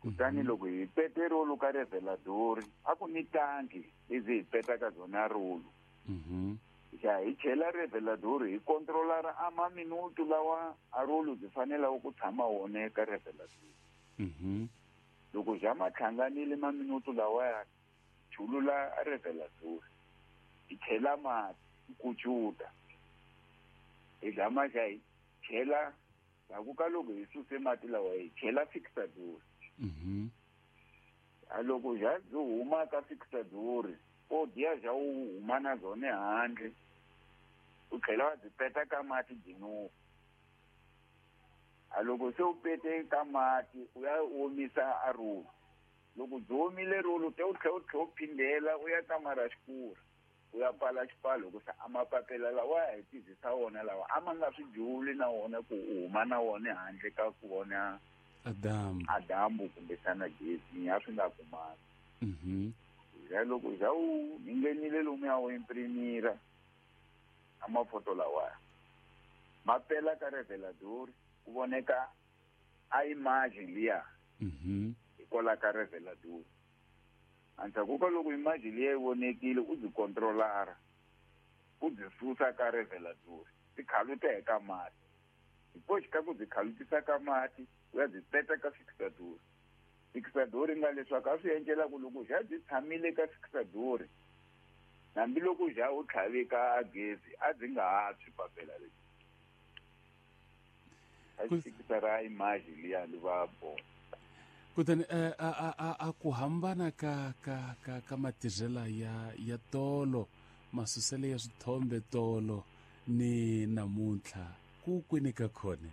Kutani loko hi pete rolo ka reveladori, a ku ni tanki lezi hi petaka byona rolo. Ya hi chela reveladori hi controlara a maminutu lawa a rolo byi fanelaka ku tshama wona eka reveladori. Loko ja ma hlanganile maminutu lawaya, chulula a reveladori, hi chela mati hi kucuta, hi gama xa hi chela ndzhaku ka loko hi suse mati lawa hi chela fixador. A loko ja byi huma ka fixador, o diya ja u huma na byona handle, u tlhela wa byi peta ka mati byi nuka. A loko se u pete ka mati, u ya omisa a rolo. Loko byi omile rolo, te u tlhela u tlhela u phindela u ya kamara xikura, u ya pfala xipfalo, hikusa a mapapila lawa ya hi tirhisa wona lawa a ma nga swi juli na wona ku u huma na wona handle ka ku vona Adamu. Adamu kumbexana gezi a swi nga kumani. Ya loko ja u nghenile lomu ya u imprimira a mafoto lawaya, ma pela ka revelador, ku voneka a image liya hikwalaho ka revelador. Endzhaku ka loko image liya yi vonekile, u byi controlara, u byi susa ka revelador, ti khaluta eka mati. Hi koxi ka ku byi khalutisa ka mati, u ya byi peta ka fixador. Fixador nga leswaku a swi endlela ku loko ja byi tshamile ka fixador, hambiloko ja u tlhave ka gezi, a byi nga ha tshwi papela leri. A xi image liya li va bona. Kutani a ku hambana ka matirhela ya tolo, masusele ya swithombe tolo ni namuntlha, ku kwini ka khone?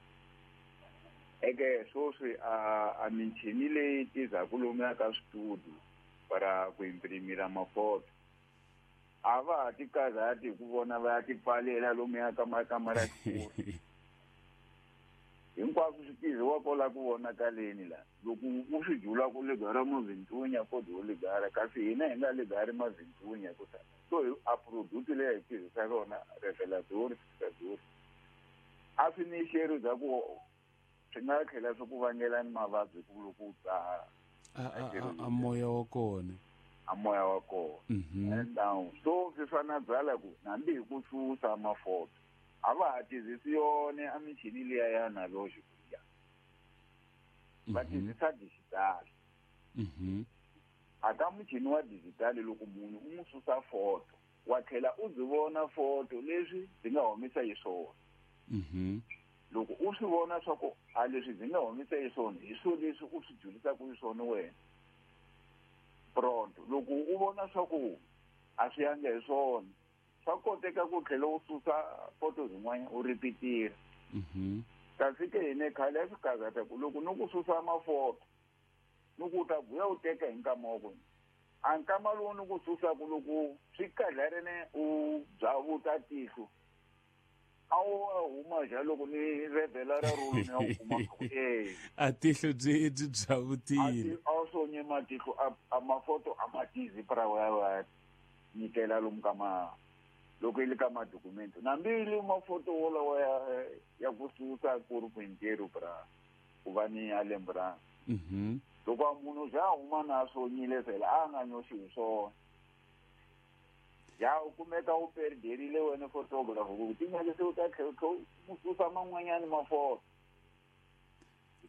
Eke sweswi a michini leyi tirhaka lomuya ka switudio para ku imprimira mafoto, a va ha ti karhati hi ku vona va ya ti pfalela lomuya ka makamara xikulu. Hinkwaswo swi tirhiwa kwala ku vonakaleni la. Loko u swi jula ku ligara mavintunya, ko do ligara, kasi hina hi nga ligari mavintunya ku ta. So hi a product leyi hi tirhisa yona revelador, fixador, a swi ni xeri bya ku swi nga tlhela swi ku vangela ni mavabyi ku loko u dzaha. A moya wa kona. A moya wa kona. And now, so swi fana byala ku hambi hi ku susa mafoto, a va ha tirhisi yona a michini liya ya analogy ku ya. Va tirhisa digital. A ka muchini wa digital, loko munhu u n'wi susa foto, wa tlhela u byi vona foto leswi byi nga humisa hi swona. Loko u swi vona swa ku a leswi byi nga humisa hi swona, hi swona leswi u swi julisaka hi swona wena. Pronto. Loko u vona swa ku a swi yanga hi swona, swa koteka ku tlhela u susa foto zin'wana u ripitira. Kasi ke hina khale a swi karhata ku loko ni ku susa mafoto, ni ku ta vuya u teka hi nkama wa kona. A nkama lowu ni ku susaka loko swi kadlarene u byavuta tihlo, a wu huma ja loko ni revela ra rolo ni ya u kuma ku, eh. A tihlo byi byavutile. A sonye matihlo, a mafoto a matizi pra wa nyikela lomu ka ma, loko yi le ka madokumento. Nambi yi le mafoto wolawo ya ku susa ku ri ku hinteru pra ku va ni ya lembe ra. Loko a munhu ja huma na sonyile fela, a nga nyoxi hi swona. Ja u kumeka u perderile wena photographer, ku ti nyake se u ta tlhela u susa man'wanyani mafoto.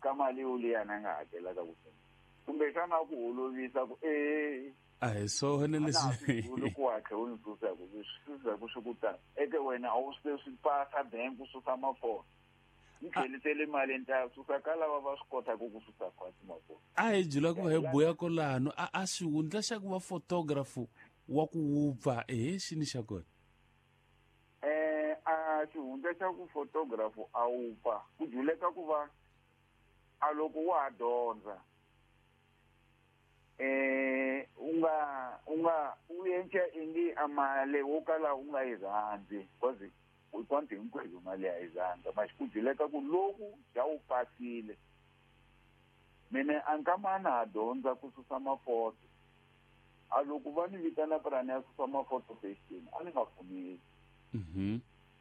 Ka mali yo liya na nga hakelaka ku fela. Kumbexana ku olovisa ku, A hi swona a na ha leswi. swi vuli ku hatla u ni susa ku swi susa ku swi ku ta. Eke wena a wu swi swi pasa bank u susa mafoto. Ni tlhelisele mali ni ta susa ka lava va swi kotaka ku susa khwatsi mafoto. A hi jula ku va hi buya kolano, a xihundla xa ku va photographer wa ku wupfa, ehe, xini xa kona? A xihundla xa ku photographer a wupfa, ku juleka ku va a loko wa ha dyondza. U nga, u endla ingi a mali wo kala u nga yi rhandzi, because hinkwato hinkwenu mali ya yi rhandza, mara ku juleka ku loku ja wu pasile. Mina a nkama na ha dyondza ku susa mafoto. A loko va ni vitana purani ya susa mafoto fashion, a ni nga pfumeli.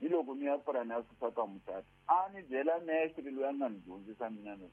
Ni loko ni ya purani ya susa ka mucato, a ni byela mestre loyi a nga ni dyondzisa mina no,